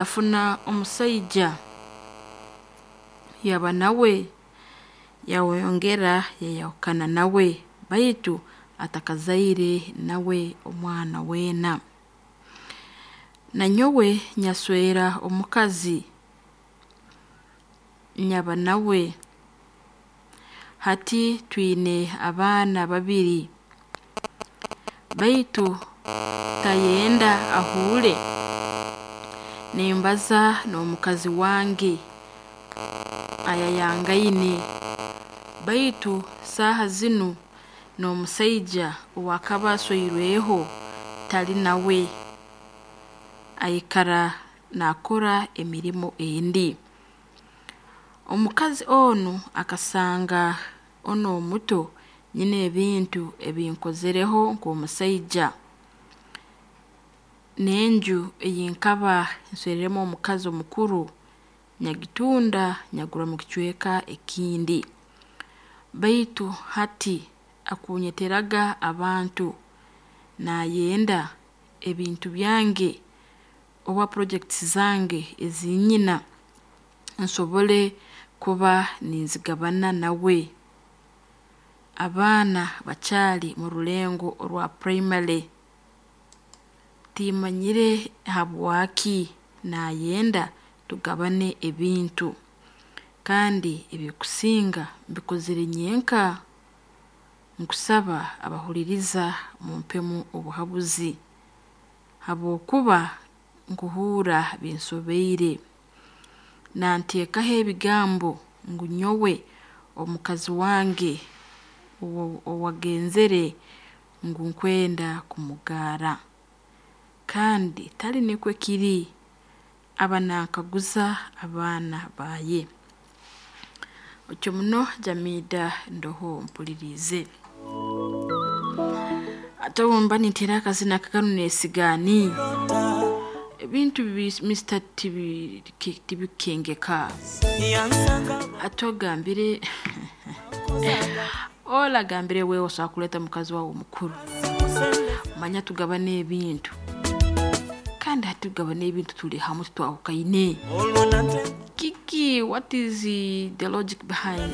Yafuna omusaija yaba nawe, yayongera yayahukana nawe, baitu atakazaire nawe omwana weena. Nanyowe nyaswera omukazi nyaba nawe, hati twine abaana babiri, baitu tayenda ahuure nimbaza n'omukazi wange ayayangaine, baitu saaha zinu n'omusaija ow'akaba asweirweho tali nawe, aikara naakora emirimo endi. Omukazi onu akasanga onu omuto nyine ebintu ebi nkozereho nk'omusaija, n'enju ei nkaba nsweriremu omukazi omukuru nyagitunda nyagura mukicweka ekindi, baitu hati akunyeteraga abantu naayenda ebintu byange oba projects zange ezi nyina nsobole kuba ninzigabana nawe. Abaana bakyali murulengo orwa primary, timmanyire habwaki naayenda tugabane ebintu kandi ebikusinga mbikozere nyenka. Nkusaba abahuliiriza mumpemu obuhabuzi habwokuba nkuhuurra binsobiire. Nanteekaho ebigambo ngu nyowe omukazi wange owagenzere ngu nkwenda kumugaara kandi tali nikwe kiri, aba nankaguza abaana baaye. Otyo muno Jamidah ndoho mpuliriize. Hati obu mba ninteera akazina nka kanu neesigaani, ebintu Mister tibikengeka. Hati ogambire ora agambire wewe osobola kuleeta mukazi waawe omukuru, manya tugabane ebintu, kandi hati tugabane ebintu tuli hamu titwahukaine. Kiki what is the logic behind?